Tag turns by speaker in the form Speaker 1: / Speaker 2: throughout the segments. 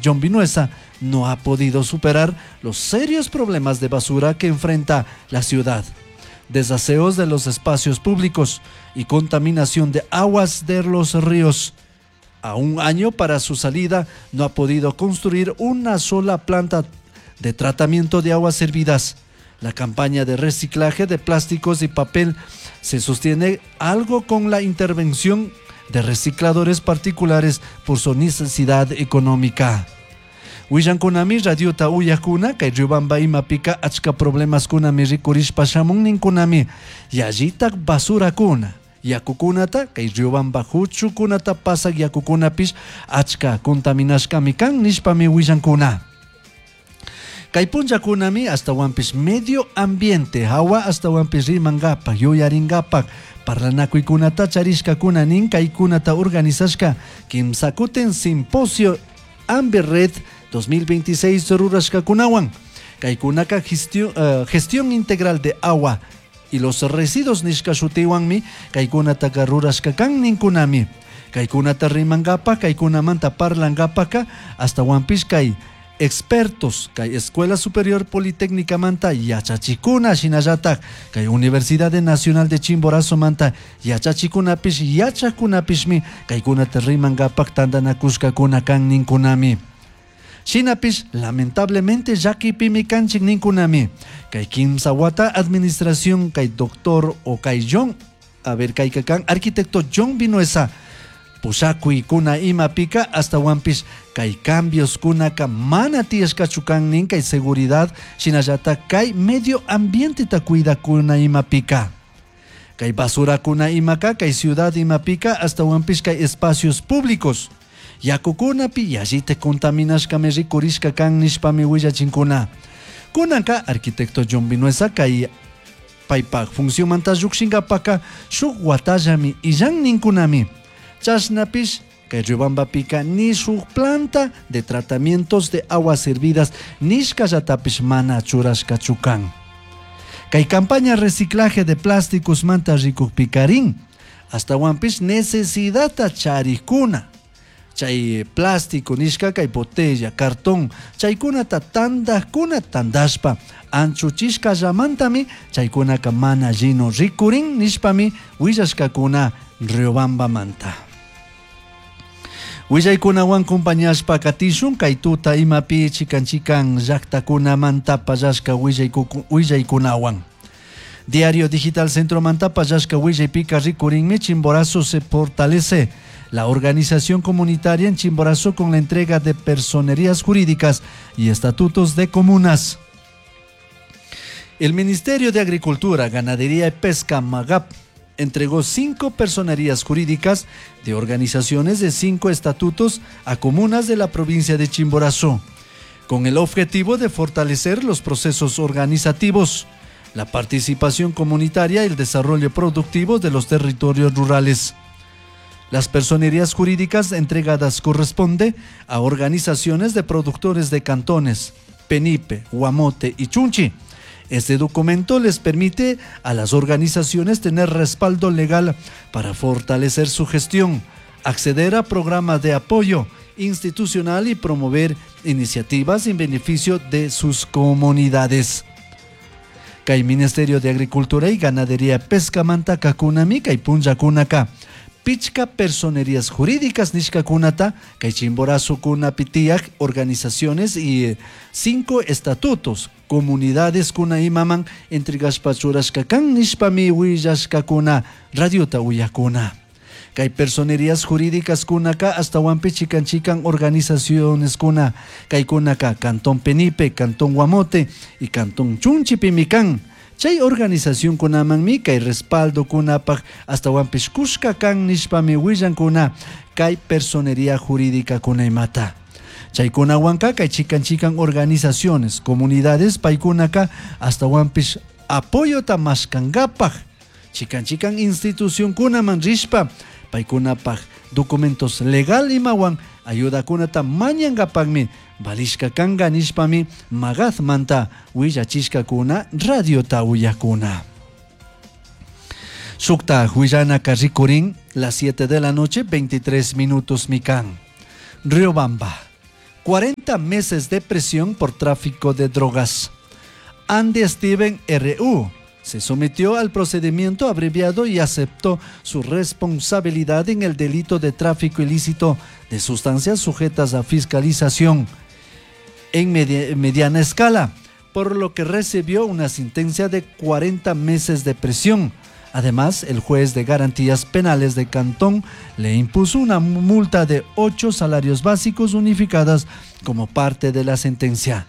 Speaker 1: John Vinuesa no ha podido superar los serios problemas de basura que enfrenta la ciudad. Desaseos de los espacios públicos y contaminación de aguas de los ríos. A un año para su salida no ha podido construir una sola planta de tratamiento de aguas servidas. La campaña de reciclaje de plásticos y papel se sostiene algo con la intervención de recicladores particulares por su necesidad económica. Willankunami radiota uyakuna kay Riobamba imapika achka problemaskunami rikurishpa shamun ninkunami yallitak basurakuna yakukunata kay Riobamba huchukunata pasak yakukunapish achka contaminashkami kan nishpami willankuna. Kay punllakunami ashtawanpish medio ambiente hawa ashtawanpish rimankapak yuyarinkapak parlanakuykunata charishkakuna nin kaykunata organizashka kimsakutin simposio Ambi Red 2026 rurashkakunawan kaykunaka gestión, gestión integral de agua y los residuos nishka shutiwanmi kaykunataka rurashka kan ninkunami kaykunata rimankapak kaykunamanta parlankapaka ashtawanpish kay expertos kay Escuela Superior Politécnica manta yachachikuna shinallatak kay Universidad Nacional de Chimborazo manta yachachikunapish yachakunapishmi kaykunata rimankapak tantanakushkakuna kan ninkunami. Shinapish lamentablemente llakipimi kanchik ninkunami kay kimsa wata administración kay doctor o kay John a ver kayka kan arquitecto John Vinuesa pushakuykuna imapika ashtawanpish kay cambios kunaka mana tiyashkachu kan nin kay seguridad shinallatak kay medio ambienteta cuidakuna imapika kay basurakuna imaka kay ciudad imapika ashtawanpish kay espacios públicos yakukunapi yallita contaminashkami rikurishka kan nishpami willachinkuna kunanka arquitecto John Vinuesa kay paypak funcionmanta llukshinkapaka shuk watallami illan ninkunami chashnapish kay Riobambapika ni shuk planta de tratamientos de aguas servidas nishkallatapish mana churashkachu kan. Kay campaña reciclaje de plásticos manta rikukpikarin ashtawanpish necesidadta charikuna chay plástico nishka kay botella, cartón chaykunata tandakuna tandashpa anchuchishkallamantami chaykunaka mana lleno rikurin nishpami willashkakuna Riobambamanta. Willaykunawan compañashpa katishun kay tuta imapi chikan chikan llaktakunamanta pallashka willaykunawan. Diario Digital Centromanta pallashka willaypika rikurinmi Chimborazo se fortalece la organización comunitaria en Chimborazo con la entrega de personerías jurídicas y estatutos de comunas. El Ministerio de Agricultura, Ganadería y Pesca, MAGAP, entregó 5 personerías jurídicas de organizaciones de 5 estatutos a comunas de la provincia de Chimborazo, con el objetivo de fortalecer los procesos organizativos, la participación comunitaria y el desarrollo productivo de los territorios rurales. Las personerías jurídicas entregadas corresponde a organizaciones de productores de cantones, Penipe, Guamote y Chunchi. Este documento les permite a las organizaciones tener respaldo legal para fortalecer su gestión, acceder a programas de apoyo institucional y promover iniciativas en beneficio de sus comunidades. Kay Ministerio de Agricultura y Ganadería Pesca manta kakunami kay punllakunaka pichka personerías jurídicas nishkakunata kay Chimborazo kunapi tiyak organizaciones y 5 estatutos comunidades kuna imaman entregashpa churashka kan nishpami willashkakuna radiota uyakuna. Kay personerías jurídicas kunaka ashtawanpi chikan chikan organizaciones kuna kay kunaka Cantón Penipe, Cantón Guamote y Cantón Chunchipimi kan. Chay organización kunamanmi kay respaldo kunapaj ashtawanpish kushka kan nishpami willankuna kay personería jurídica kuna imata. Chaykunawanka kay chikan chikan organizaciones, comunidades paykunaka ashtawanpish apoyota mashkankapaj chikan chikan institución kunaman rishpa paykunapaj documentos legal imawan ayudakunata mañankapakmi valishka kanka nishpami MAGAPmanta willachishkakuna radiota uyakuna. Shukta willanaka rikurin las 7 de la noche 23 minutos mikan. Riobamba. 40 meses de prisión por tráfico de drogas. Andy Steven R.U. se sometió al procedimiento abreviado y aceptó su responsabilidad en el delito de tráfico ilícito de sustancias sujetas a fiscalización en mediana escala, por lo que recibió una sentencia de 40 meses de prisión. Además, el juez de garantías penales de Cantón le impuso una multa de 8 salarios básicos unificadas como parte de la sentencia.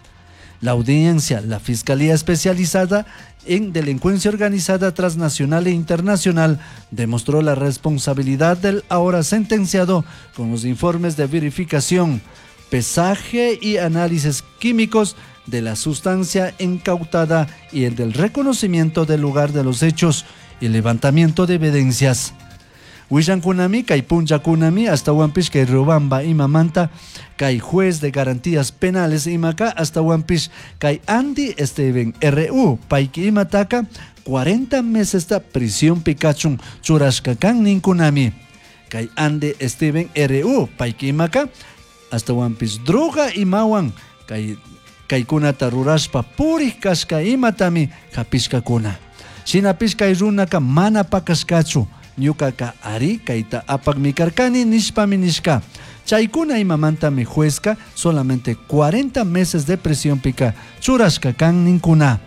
Speaker 1: La audiencia, la Fiscalía Especializada en Delincuencia Organizada Transnacional e Internacional, demostró la responsabilidad del ahora sentenciado con los informes de verificación, pesaje y análisis químicos de la sustancia incautada y el del reconocimiento del lugar de los hechos y levantamiento de evidencias. Willankunami, kay punllakunami, ashtawanpish kay Riobamba imamanta, kay juez de garantías penales imaka, ashtawanpish kay Andy Steven R.U. payki imataka, 40 meses ta prisión pikachun churashka kan ninkunami. Kay Andy Steven R.U. payki imaka, ashtawanpish droga imawan, kay kaykunata rurashpa purij kashka imatami hapishkakuna. Shinapish kay runaka mana pakashkachu, ñukaka ari kayta apakmi karkani nishpami nishka. Chaykuna imamantami juezka solamente 40 meses de prisión pika churashka kan ninkuna.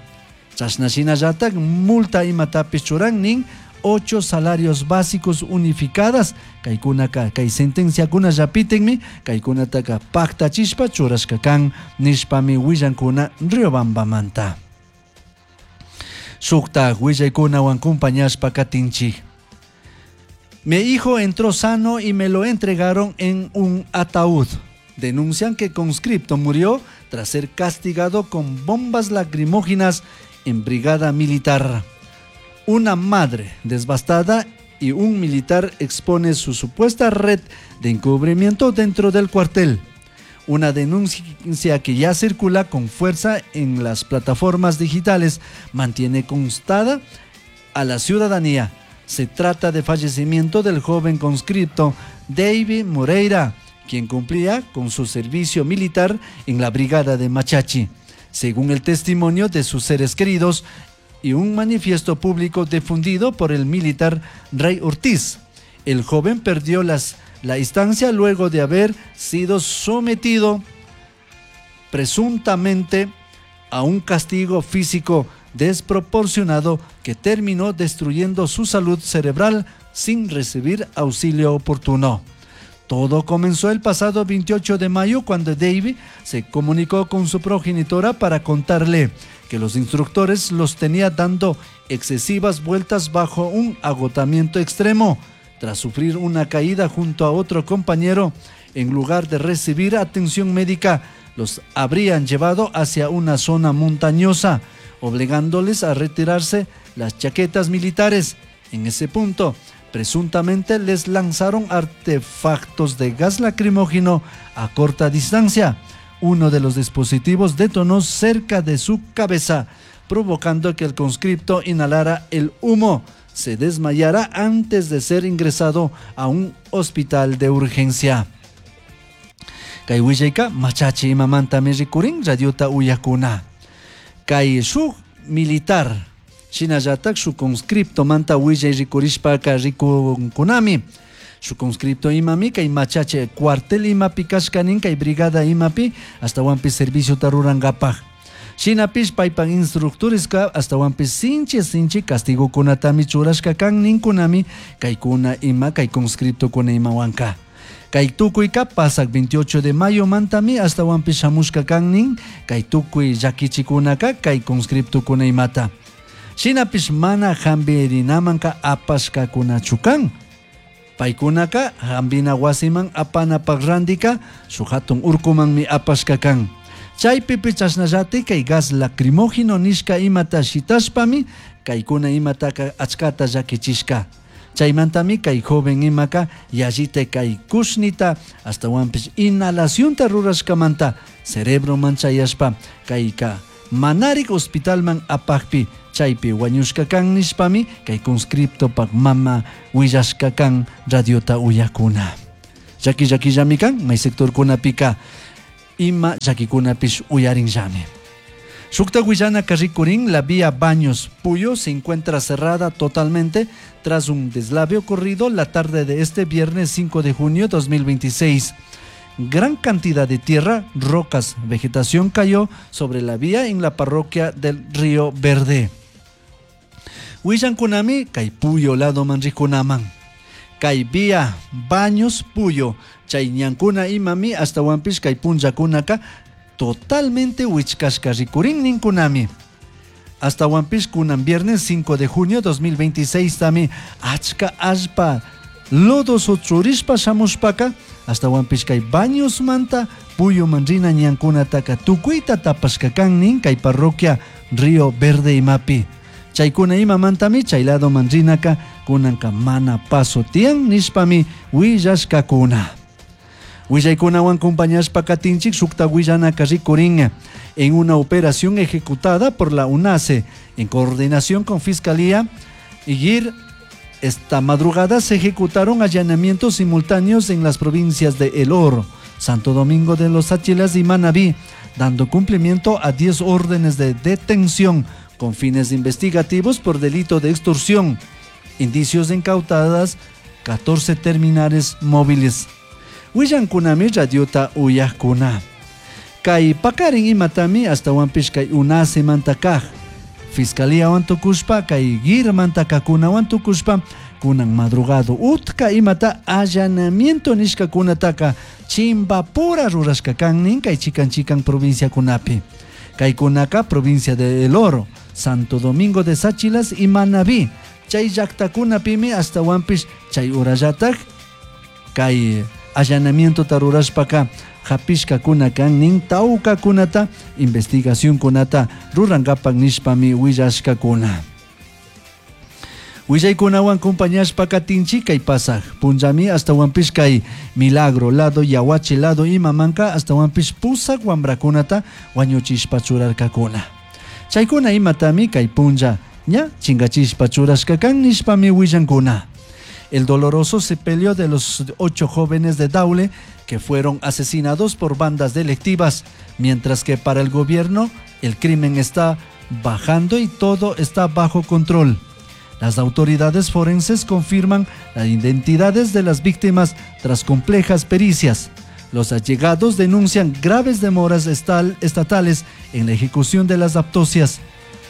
Speaker 1: Chashna shinallatak multa imatapish churan nin 8 salarios básicos unificadas. Kaykunaka kay sentenciakuna llapitenmi kaykunataka paktachishpa churashka kan nishpami willankuna Riobambamanta. Shukta willaykunawan compañashpa katinchik. Mi hijo entró sano y me lo entregaron en un ataúd. Denuncian que conscripto murió tras ser castigado con bombas lacrimógenas en brigada militar. Una madre devastada y un militar expone su supuesta red de encubrimiento dentro del cuartel. Una denuncia que ya circula con fuerza en las plataformas digitales mantiene constada a la ciudadanía. Se trata de fallecimiento del joven conscripto David Moreira, quien cumplía con su servicio militar en la brigada de Machachi. Según el testimonio de sus seres queridos y un manifiesto público difundido por el militar Rey Ortiz, el joven perdió la instancia luego de haber sido sometido presuntamente a un castigo físico desproporcionado que terminó destruyendo su salud cerebral sin recibir auxilio oportuno. Todo comenzó el pasado 28 de mayo cuando David se comunicó con su progenitora para contarle que los instructores los tenía dando excesivas vueltas bajo un agotamiento extremo. Tras sufrir una caída junto a otro compañero, en lugar de recibir atención médica, los habrían llevado hacia una zona montañosa, obligándoles a retirarse las chaquetas militares. En ese punto, presuntamente les lanzaron artefactos de gas lacrimógeno a corta distancia. Uno de los dispositivos detonó cerca de su cabeza, provocando que el conscripto inhalara el humo, se desmayara antes de ser ingresado a un hospital de urgencia. Kay willayka machachi imamantami rikurin radiota uyakuna. Kay shuk militar shinallatak shuk conscripto manta willay rikurishpaka rikunkunami. Shuk conscripto imami kay machache cuartel imapi kashkanin kay brigada imapi ashtawanpish serviciota rurankapak. Shinapish paypak instructoreska ashtawanpish sinchi sinchi castigokunatami churashka kan ninkunami kaykuna ima kay conscriptokuna imawanka. Kay tukuyka pasak 28 de mayo mantami ashtawanpish shamushka kan nin kay tukuy llakichikunaka kay conscriptokuna imata. Shinapish mana hampirinamanka apashkakunachu kan. Paykunaka hampina wasiman apanapak randika shuk hatun urkumanmi apashka kan. Chaypipi chashnallati kay gas lacrimógeno nishka imata shitashpami kaykuna imataka achkata llakichishka. Chaymantami kay joven imaka yallita kay kushnita ashtawanpish inhalacionta rurashkamanta cerebro manchayashpa kayka manarik hospitalman apakpi chaypi wañushka kan nishpami kay conscriptopak mama willashka kan radiota uyakuna. Llaki llakillami kan may sectorkunapika. Ima llaquikunapish uyarinllami. Shukta willanaka rikurin, la vía Baños Puyo se encuentra cerrada totalmente tras un deslave ocurrido la tarde de este viernes 5 de junio 2026. Gran cantidad de tierra, rocas, vegetación cayó sobre la vía en la parroquia del Río Verde. Willankunami kay Puyo ladoman rikunaman. Kay vía Baños Puyo chay ñankuna imami ashtawanpish kay punllakunaka totalmente wichkashka rikurin ninkunami. Ashtawanpish kunan viernes 5 de junio 2026 tami achka allpa lodos churishpa shamushpaka ashtawanpish kay Bañosmanta Puyuman rina ñankunataka tukuyta tapashka kan nin kay parroquia Río Verde imapi. Chaykuna imamantami chay ladoman rinaka kunanka mana paso tiyan nishpami willashkakuna. Willaykunawan acompañashpa katinchik shukta willanaka rikurin en una operación ejecutada por la UNACE en coordinación con Fiscalía y GIR. Esta madrugada se ejecutaron allanamientos simultáneos en las provincias de El Oro, Santo Domingo de los Tsáchilas y Manabí, dando cumplimiento a 10 órdenes de detención con fines investigativos por delito de extorsión. Indicios de incautadas 14 terminales móviles. Willankunami radiota uyajkuna. Kay pakarin imatami ashtawanpish kay UNACE manta kaj. Fiscalía tukushpa kay GIR mantakakunawan tukushpa kunan madrugado utka imata allanamiento nishkakunataka chimbapura rurashka kan nin kay chikan chikan provinciakunapi. Kaykunaka provincia de El Oro, Santo Domingo de Tsáchilas y Manabí. Chay llaktakunapimi ashtawanpish chay urallatak kay allanamiento rurashpaka hapishkakuna kan nin tawkakunata investigacionkunata rurankapak nishpami willashkakuna. Willaykunawan compañashpa katinchik kay pasaj punllami ashtawanpish kay Milagro lado Yaguachi lado imamanka ashtawanpish pusak wambrakunata wañuchishpa churarkakuna. Chaykuna imatami kay punlla ña chingachishpa churashka kan nishpami willankuna. El doloroso sepelio de los 8 jóvenes de Daule que fueron asesinados por bandas delictivas, mientras que para el gobierno el crimen está bajando y todo está bajo control. Las autoridades forenses confirman las identidades de las víctimas tras complejas pericias. Los allegados denuncian graves demoras estatales en la ejecución de las autopsias.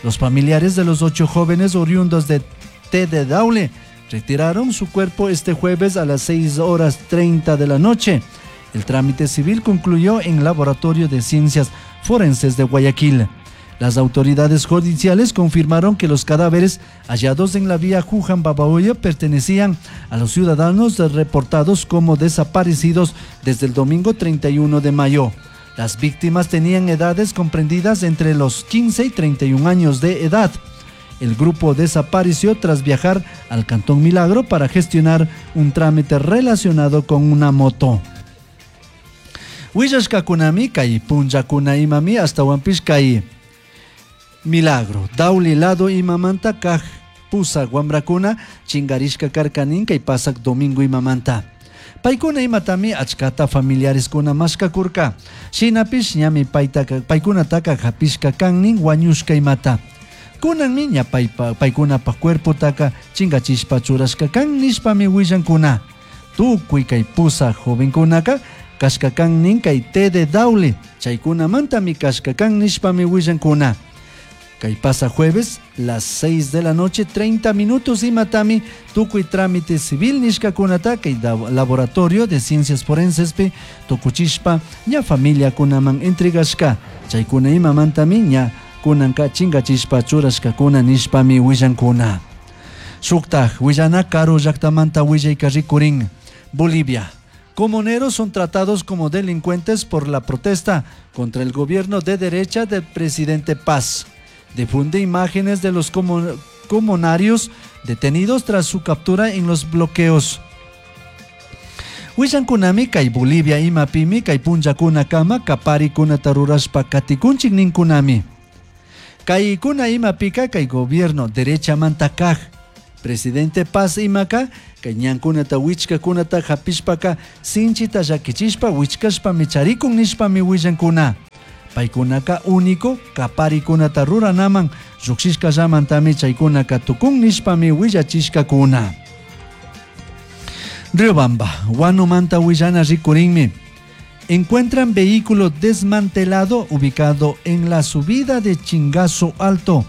Speaker 1: Los familiares de los 8 jóvenes oriundos de T de Daule retiraron su cuerpo este jueves a las 6:30 de la noche. El trámite civil concluyó en el Laboratorio de Ciencias Forenses de Guayaquil. Las autoridades judiciales confirmaron que los cadáveres hallados en la vía Juján-Babahoyo pertenecían a los ciudadanos reportados como desaparecidos desde el domingo 31 de mayo. Las víctimas tenían edades comprendidas entre los 15 y 31 años de edad. El grupo desapareció tras viajar al Cantón Milagro para gestionar un trámite relacionado con una moto. Willashkakunami kay punllakuna imami ashtawanpish kay Milagro, Daule lado imamanta kaj pusak wamrakuna chingarishka karkanin kay pasak domingo imamanta. Paykuna imatami achkata familiareskuna mashkakurka. Shinapish ñami paykunataka hapishka kannin wañushka imata. Kunanmi ña paykunapaj cuerpotaka chingachishpa churashka kan nishpami willankuna. Tukuy kay pusak jovenkunaka kashka kannin kay T de Daule. Chaykunamantami kashka kan nishpami willankuna. Kay pasa jueves, las 6 de la noche, 30 minutos imatami, tukuy trámite civil nishkakunata kay laboratorio de ciencias forenses pi tukuchishpa ña familia kunaman entregashka. Chaykuna imamantami ña kunanka chingachishpa churashkakuna nishpami willankuna. Shuktaj willana karu llaktamanta willayka rikurin. Bolivia. Comuneros son tratados como delincuentes por la protesta contra el gobierno de derecha del presidente Paz. Difunde imágenes de los comunarios detenidos tras su captura en los bloqueos. Willankunami kay Bolivia imapimi kay punllakuna kama kapari kunata rurashpa katikunchik ninkunami. Kay kuna imapika kay gobierno derecha manta kaj. Presidente Paz imaka kay ñankunata wichkakunata hapishpaka sinchita llakichishpa wichkashpami charikun nishpami willankuna. Paykunaka único kaparikunata ruranaman llukshishkallamantami chaykunaka tukun nishpami willachishkakuna. Riobamba, Huanomanta willana rikurinmi. Encuentran vehículo desmantelado ubicado en la subida de Chingazo Alto,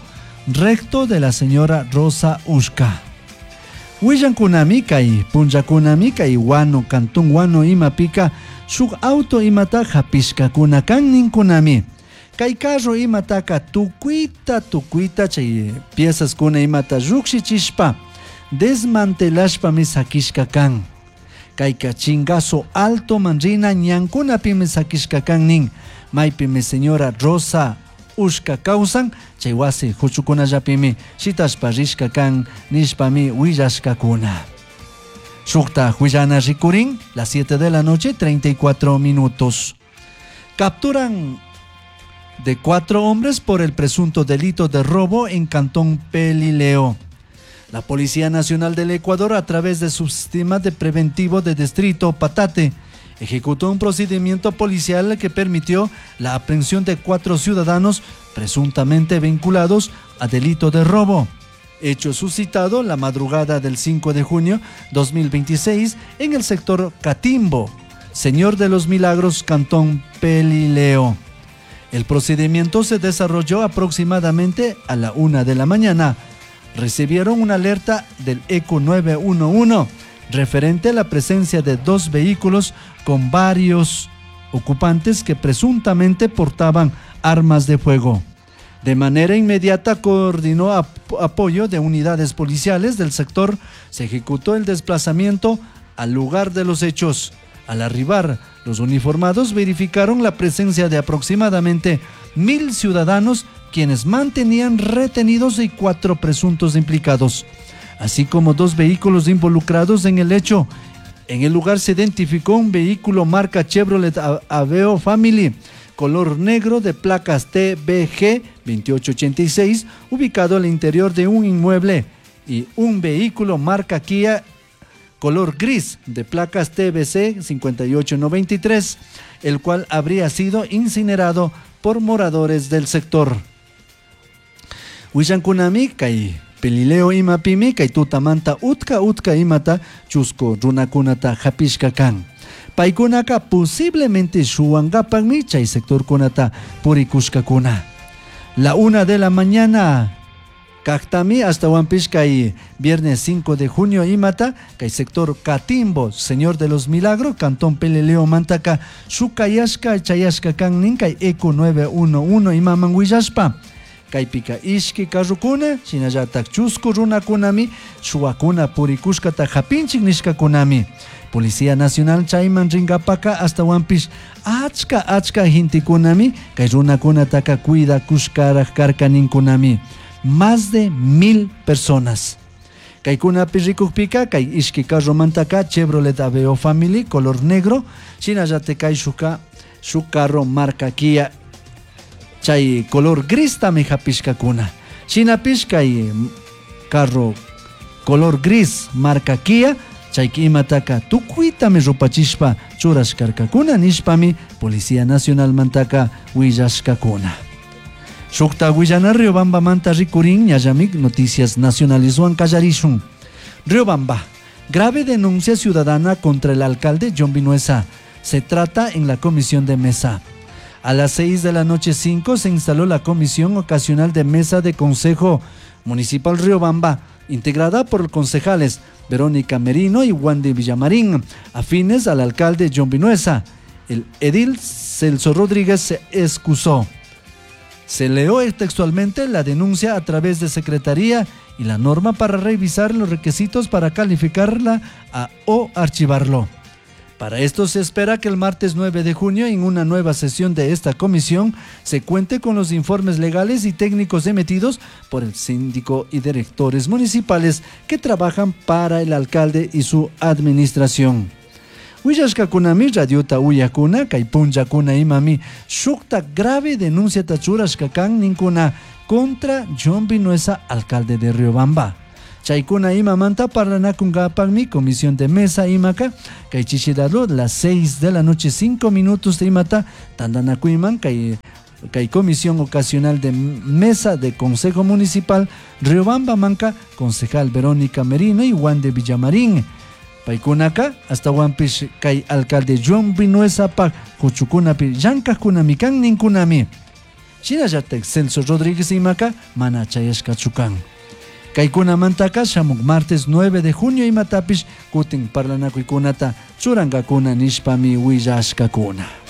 Speaker 1: recto de la señora Rosa Ushka. Willankunami kay punllakunami kay Huano, Cantón Huano imapika shuk auto imata hapishkakuna kan ninkunami. Kay carro imataka tukuyta tukuyta chay piezas kuna imata llukshichishpa desmantelashpami sakishka kan. Kayka Chingazo Alto manrina ñankunapimi sakishka kan nin. Maypimi señora Rosa Ushka kawsan chay wasi huchukunallapimi shitashpa rishka kan nishpami willashkakuna. Shukta huillana rikurin, las 7 de la noche, 34 minutos. Capturan de 4 hombres por el presunto delito de robo en Cantón Pelileo. La Policía Nacional del Ecuador, a través de su sistema de preventivo de distrito Patate, ejecutó un procedimiento policial que permitió la aprehensión de 4 ciudadanos presuntamente vinculados a delito de robo. Hecho suscitado la madrugada del 5 de junio 2026 en el sector Catimbo, Señor de los Milagros, Cantón Pelileo. El procedimiento se desarrolló aproximadamente a la 1 de la mañana. Recibieron una alerta del ECU 911 referente a la presencia de 2 vehículos con varios ocupantes que presuntamente portaban armas de fuego. De manera inmediata coordinó apoyo de unidades policiales del sector. Se ejecutó el desplazamiento al lugar de los hechos. Al arribar, los uniformados verificaron la presencia de aproximadamente 1.000 ciudadanos quienes mantenían retenidos y 4 presuntos implicados, así como 2 vehículos involucrados en el hecho. En el lugar se identificó un vehículo marca Chevrolet Aveo Family, color negro de placas TBG 2886, ubicado al interior de un inmueble, y un vehículo marca Kia color gris de placas TBC 5893, el cual habría sido incinerado por moradores del sector. Willankunami kay Pelileo imapimi kay tutamanta utka utka imata chusco runakunata hapishka kan. Paykunaka posiblemente shuwankapakmi chay sectorkunata purikushkakuna. La 1 de la mañana kaktami hasta Huampish kay viernes 5 de junio imata kay sector Catimbo, Señor de los Milagros, Cantón Pelileo Mantaka, shukayashka chayashka kan nin kay ECU 911 imaman willashpa. Kaypika ishki karrukuna, shinallatak chusku runakunami, shuwakuna purikushkata hapinchik nishkakunami. Policía Nacional chayman rinkapaka hasta Huampish achka achka gentekunami, kay runakunataka cuidakushkaraj karka ninkunami. Más de 1000 personas. Kaykunapi rikukpika, kay ishki karromantaka Chevrolet Aveo Family color negro, shinallatak kay shuka, shuk carro marca Kia chay color gris tami hapishkakuna. Shinapish kay carro color gris marca Kia chay imataka tukuytami rupachishpa churashkarkakuna nishpami Policía Nacional mantaka willashkakuna. Shukta willana Riobamba manta rikurin ñallamik Noticias Nacionales kallarishun. Riobamba, grave denuncia ciudadana contra el alcalde John Vinuesa. Se trata en la comisión de mesa. A las 6 de la noche 5 se instaló la comisión ocasional de mesa de Consejo Municipal Riobamba, integrada por concejales Verónica Merino y Wandy Villamarín, afines al alcalde John Vinuesa. El edil Celso Rodríguez se excusó. Se leyó textualmente la denuncia a través de secretaría y la norma para revisar los requisitos para calificarla o archivarlo. Para esto se espera que el martes 9 de junio, en una nueva sesión de esta comisión, se cuente con los informes legales y técnicos emitidos por el síndico y directores municipales que trabajan para el alcalde y su administración. Willashkakunami radiota uyakuna, kay punllakuna imami, shukta grave denuncia tachurashka kan ninkuna contra John Vinuesa, alcalde de Riobamba. Chaykuna imamanta parlanakunkapakmi comisión de mesa imaka kay chishidalo las 6 de la noche 5 minutos de imata tantanakuyman kay kay comisión ocasional de mesa de Consejo Municipal Riobamba manka concejal Verónica Merino y Juan de Villamarín. Paykunaka astawanpish kay alcalde Juan Vinuesa pak kuchukunapi llankajkunami kan ninkunami. Shinallatak Celso Rodríguez imaka mana chayashkachu kan. Kaykunamantaka shamuk martes 9 de junio imatapish kutin parlanakuykunata churankakuna nishpami willashkakuna.